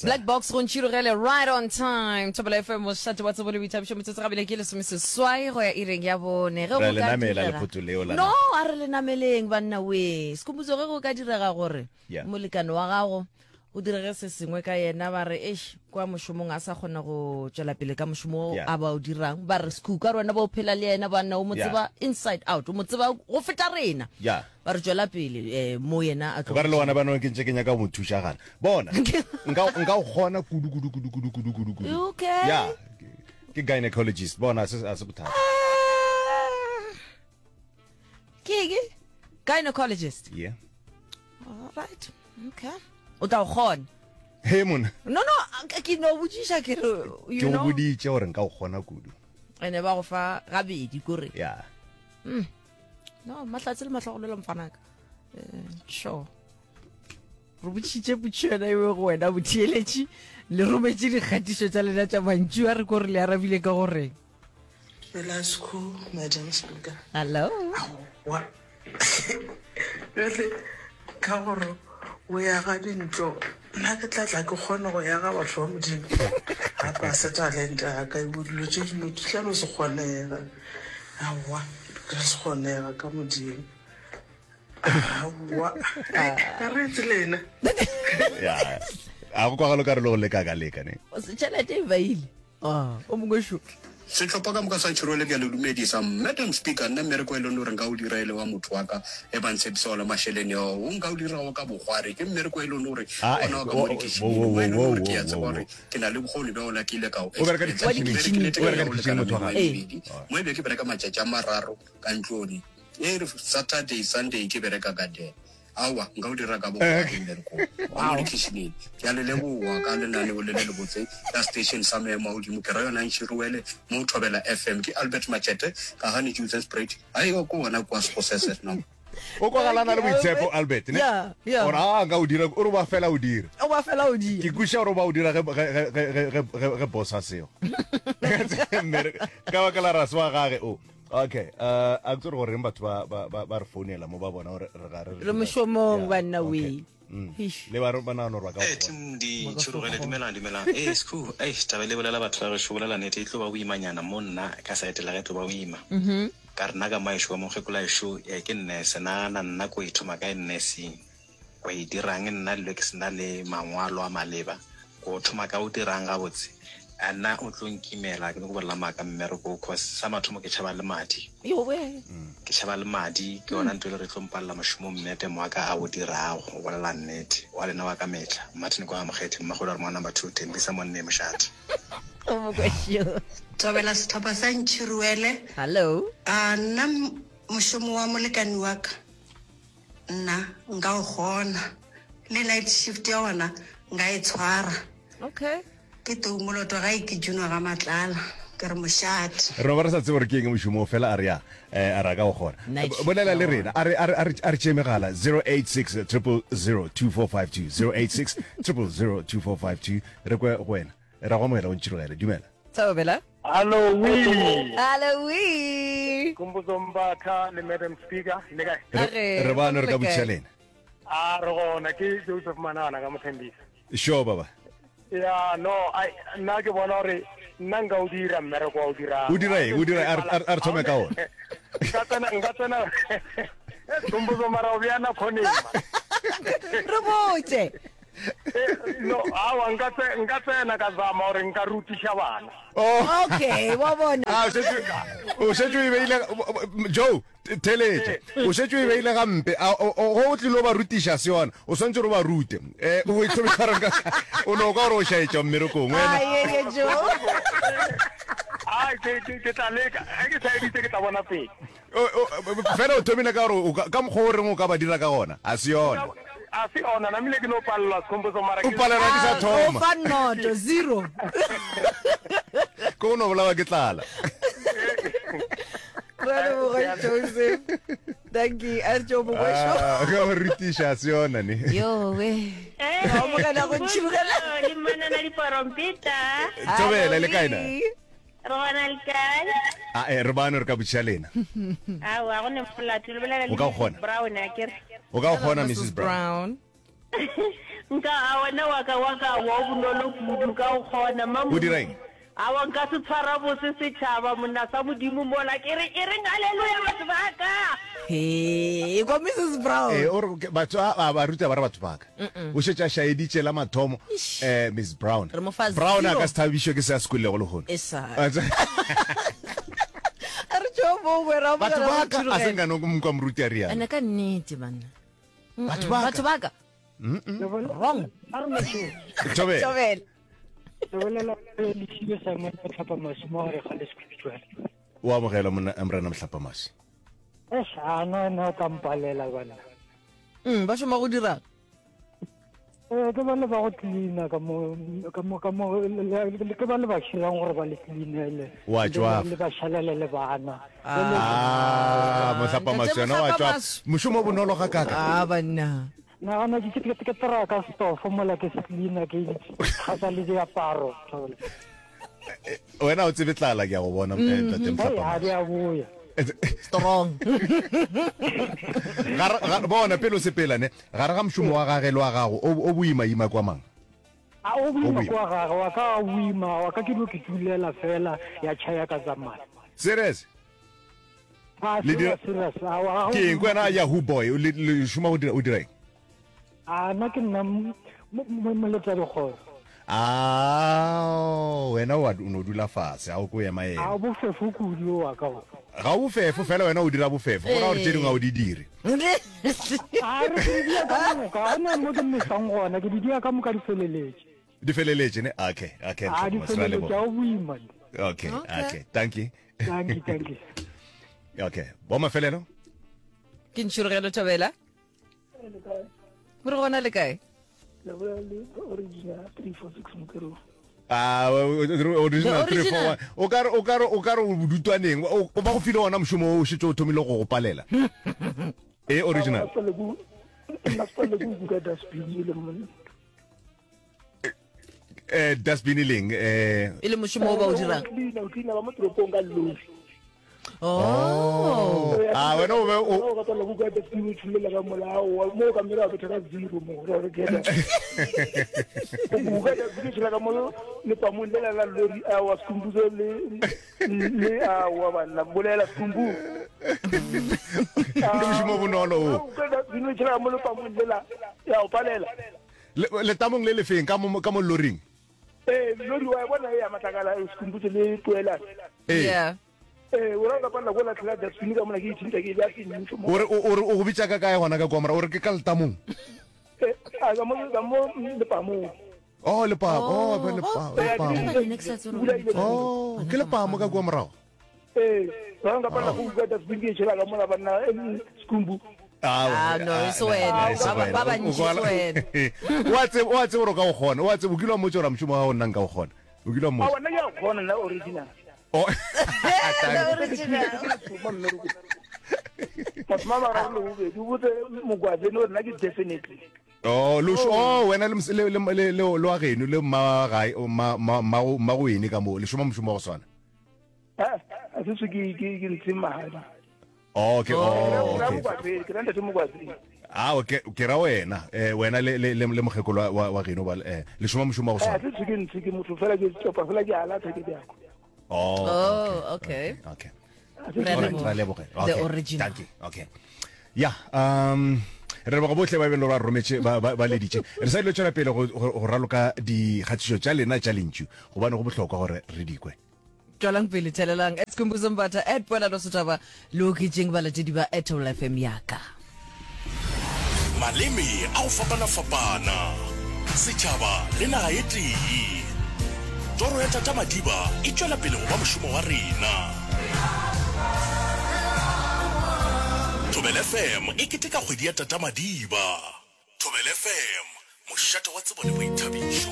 Black Box go ntšhirogele right on time. Thobela FM mošate wa tsebo le boithabišo metsotso gabile ke lesomeseswai go ya ireng ya bone. Ge Ra go le ka namela direga lephoto leo la No, naga. a re le nameleng banna we. Sekhumbuzo ge go ka direga gore Yeah. molekane wa gago go direge se sengwe ka yena ba re eish kwa mošomong a sa kgona go tšwela pele ka mošomo o Yeah. a ba o dirang ba re sekhu ka re wena ba o phela le yena banna o mo Yeah. tseba inside out o mo tseba go feta rena Yeah. ba re tšwela pele um mo yena a O tlo ka re le gona bano ke ntše ke nyaka go mo thuša gana. Bona, nka nka o kgona kudu kudu kudu kudu kudu kudu kudu. Okay. Yeah. Ke gynecologist. Bona a se a se bothata. Ah. Ke eng? Gynecologist. Yeah. All right. Okay. O tla o kgona. He mona. No no, ke no botšiša ke re you Ke go know. boditše gore nka o kgona kudu. Ene ba go fa gabedi kore. Yeah. No, mahlatse le mahlogolelo mfanaka. Eh, sure. Re botšitše potšišo yona eo go wena botheeletši le rometše dikgatišo tša lena tša mantšu a re ko re le arabile ka goreng. Dumela Sekhu, Madam Speaker. Hello. Aowa. Bjale ka gore o yaga dintlo, nna ke tla tla ke kgone go yaga batho ba Modimo. Gape a se talente ya ka, ebo dilo tše dingwe di tla no se kgonega. Aowa, di ka se kgonega ka Modimo. Aowa, ka re etse lena. Ya. A go kwagalo ka re le go leka ka leka ne. Tšhelete e baile. Ah, o mongwe šo. Sehlopha ka moka sa Tšhirole ke a le dumedisa. Madam Speaker, nna mmereko e leng gore nka o dira e le wa motho wa ka e ba ntshepisa ona mašeleng ao, o nka o dirago ka bokgwari ke mmereko e leng gore Ah, eh, ona wa ka wo, mo wo, dikitšhining wo, mo e leng wo, gore ke wo, a tseba wo, gore wo. ke na le bokgoni bja ona ke ile ka o O bereka experience. Ke dikitšhining, berekile o bereka go dikitšhining lekana motho wa mengwaga gago. e Ee. mebedi mo e be ke bereka matšatši a mararo ka ntlong e re Saturday, Sunday ke bereka ka den. Aowa, nka o dira ka bokgwari mmereko wa mo dikhišineng. Ke a le leboga ka lenaneo le le lebotse la station sa maemo a godimo. Ke ra yona Ntšhiruwele mo Thobela FM. Ke Albert Machete ka ga Nijutzenspruit. Ai, o ko gona kwa Sekgosese no. O kwagala a na le boitshepo Albert ne? Yeah, yeah. Gore a nka o dira, o re ba fela o dira. O ba fela o dira. Ke kwešiša gore o ba o dira ge ge ge ge ge ge ge boss a seo. Ka baka la rase wa gage o. Okay, uh, a ke tsore goreng batho ba ba ba ba re founela mo ba bona gore re ga re Re mošomong Yeah, banna okay. we. Mm. Eish. Le ba re ba nagana gore ba ka Ee, go bona. team di Ba ka se tšhurugele kgone. dumelang dumelang ee skhoo eish taba e le bolela batho ba gešo bolela nnete e tlo ba boimanyana mo nna ka side la ge e tlo ba boima ka re nna ka mo ešo ka mokgekolo ešo eh, ke nurse nagana nna ko ithoma kae nursing Go e dirang nna dilo ke sena le mangwalo a maleba? Go thoma ka o dirang gabotse? A nna o tlo nkimela ke nyako bolela maaka mmereko wo cause sa mathomo ke tšhaba le madi. Ke tšhaba le madi ke yona nto e le gore e tlo mpalela mošomo mmedam wa ka a o dirago go bolela nnete. Wa lena wa ka mehla Martin kwa Mokgethi Mmagolo a re mo number 2 Thembisa Monneng Mošate. Thobela sehlopha sa Ntšhiruele. Hello. A nna mošomo wa molekani wa ka Nna nka o kgona. Le night shift ya gona nka e tshwara. Okay. Ke tou moloto gae ke Juno ga Matlala. Ke re mošate. Re no ba re sa tsebe gore ke eng mošomo o fela a re ya eh, a re a ka o kgona. Night shift Bolela ya le gona. rena a re a re a re a re tšee megala 086 000 2452 086 000 2452 re kwe go wena. Ra go amogela o ntšhirogele. Dumela. Thobela. Hallo we. Hallo we. Khumbudzo Mbatha le Madam Speaker le kae? Re re bano re ka botšiša lena. A re gona ke Joseph Manana ka Mothembisa. Sure baba. Ya no ai nna ke bona gore nna nka o dira mmereko wa o dirang. O dira eng? O dira a re thome ka ona. Nka tsena nka tsena Khumbudzo mara o bjana khoneng. Re botse. Eh, no awa nka tse- nka tsena ka zama gore nka rutiša bana Oh. okay wa bona Ah, o šetše o šetše o e beile Joe theletša o šetše o e beile gampe A, o- o- go o tlile o ba rutiša se yona o swantse gore o ba rute um o e thomisa gore nka- o no ka gore o šaetša mmerekong wena Ai, ye, ye, Joe. Ai, ke ke- ke tla leka ge ke sa editse ke tla bona pele Fela o thomile ka gore ka mokgwa o reng o ka ba dira ka gona, a se yona. A se yona, namile ke no palelwa Sekhomposo mara O palelwa ke sa thoma. O fa noto, zero. Ke go no bolawa ke tlala. Re a leboga Joseph. Thank you. A re tšo mongwešo. Ah, ka go rutiša a se yona ne. Yo we. Ra amogela go ntšhirogela. Le manana diporompeta. Thobela le kae na? Re gona le kae? A e re bano re ka botšiša lena. Aowa, go ne molato. Le bolela le O ka Mrs. kgona. Brown, a ke re. O ka Hello, kgona Mrs. Mrs. Brown. Brown. Nka a wena wa ka wa ka wa o bonolo kudu nka o kgona mma O dira eng? Awa nka se tshwara bose setšhaba monna sa Modimo mola ke re e reng haleluya batho ba ka. Hee, kwa Mrs Brown. Ee, o re ke- batho a a ba ruta ba re batho ba ka. O šetše a šaeditše la mathomo Eish. eh Miss Brown. Re mo fa Brown a zero. ka se thabišwe ke se a se kwelego lehono. E sa. A re tšo mo wera Batho ba ka a se nka no mkwa moruti a rialo. Ene ka nnete banna. Batho ba ka. Batho ba ka. Wrong. A re motho. Thobela. Thobela. Re bolela le Lesibe Samuel Motlhapamaswi mo gare ga Leskhwitšwane. O amogela monna Morena Motlhapamaswi. Eish, a no no ka mpalela banna. Mm, ba šoma go dirang? Eh, ke ba le ba go cleaner ka mo ka mo ka mo ke ba le ba shirang gore ba le cleanele. Wa tšwafa. Le ba šalele le bana. Ah, Motlhapamaswi yena wa tšwafa. Mošomo o bonolo ga kaka. Ah, banna. Nagana ke ke ke traka stofo mola ke se cleaner ke gasa le diaparo. Wena o tsebe tlala ke a go bona eh, ntate Hey, ha di a boya. Strong. Gare ga bona pele o sepela ne gare ga mošomo wa gage le wa gago o o boima ima kwa mang? A o boima boima. kwa gage wa ka a boima wa ka ke no ke tulela fela ya tšhaya ka tsamaya. Serious? A Le dira- serious serious. A wa Ke eng kwena Yahoo boy o le le šoma go dira o dira eng? A nna ke nna mo- mo- moletsa dikgoro. Ah, wena wa o no dula fase a o ko ema A ema. o bofefo kudu wa ka o. Ga o bofefo fela wena o dira bofefo. Go ra gore tše dingwe ga o di dire. A re ke di dia ka moka, ga gona mo ke mesang gona, ke di dia ka moka di feleletše. Di feleletše ne? Okay, okay. A di Ntlhokomose, ra feleletše, leboga. a o boima. Okay, Okay. okay. Thank you. Thank you, thank you. Okay. Bo mafelelo? Ke ntšhirogelo Thobela. Re gona le kae? Le bolela le original 346 Mokero. Ah, original The original. 341. O ka re o ka re o ka re o bodutwaneng. O o ba go file ona mošomo o šetše o thomile go go palela. E original. Nna se le go buka dustbin e le monna. Eh dustbin e leng eh E le mošomo o ba o dirang. Cleaner, o cleaner ba mo toropong ka lori. Oh. Ah, wena o be o o ka tswela buka dustbin o tšholela ka molao mo ka mera betha ka zero mo gore re keta. O buka dustbin o tšholela ka mo lepamong le la la lori a wa Skhumbuzo le le a wa banna bolela Skhumbu. Ke mošomo o bonolo o. Buka dustbin o tšholela ka mo lepamong le la ya o palela. Letamong le lefeng ka mo ka mo loring? Ee, lori wa e bona e ya matlakala e Skhumbuzo le Poelane. Ee. Yeah. Ee, o ra ka palela ko latlhela dustbin ka mona ke ithinta ke e bea sentšo mo. O re o re o go bitša ka kae gona ka kwa mora? O re ke ka letamong. Ee, a ka mo ka mo lepamong. Oh, lepamo. Oh, ba lepa, Oh, lepamo. ba ne ke sa tsebe gore Oh, ke lepamo ka kwa morago. Ee, ba nka palela go uka dustbin ke e tšhela ka mola banna eh, Skhumbu. Ah, no, e se wena. e se Ba- wena. ba O- bantši o kwala- se wena. O a tseba, o a tseba gore o ka o kgona. O a tseba, o kile wa mmotša gore mošomo wa gago nna nka o kgona. O kile wa A mmotša. wena ke a kgona nna original. Oh. The original. Batho ba bararo le bobedi o botse Mogwabeni gore nna ke definitely. Oh, lo oh, wena le mos- le le le le le wa geno le mma wa gae, o mma mma mma go mma go ene ka mo, le šoma mošomo wa go swana. Ah, a se se ke ke ke ntshe madi. Oh, okay, oh, Ke ra okay. Mogwabeni, ke ra ntate Mogwabeni. Ah, okay, ke ra wena, eh wena le le le le mokgekolo wa wa wa geno ba eh le šoma mošomo wa go Eh, a swana. se se ke ntshe ke motho fela ke topa fela ke alatha ke bjako. Oh, Oh, okay. okay. Re a Alright, leboga. ra leboga. The Okay. original. Thank you. Okay. Ya, um re leboga bohle ba e beng le gore ba rometše ba ba ba leditše. Re sa dilo tšwela pele go go go raloka dikgatišo tša lena tša lentšu gobane go bohlokwa gore re di kwe. Tšwelang pele thelelang at Skhumbuzo Mbatha at Poelano Setšhaba le oketšeng balatedi ba at Thobela FM yaka. Maleme a go fapana-fapana, setšhaba le naga e tee. Toro ya Tata Madiba e tšwela pele go ba mošomo wa rena. Thobela FM e keteka kgwedi ya Tata Madiba. Thobela FM, mošate wa tsebo le boithabišo.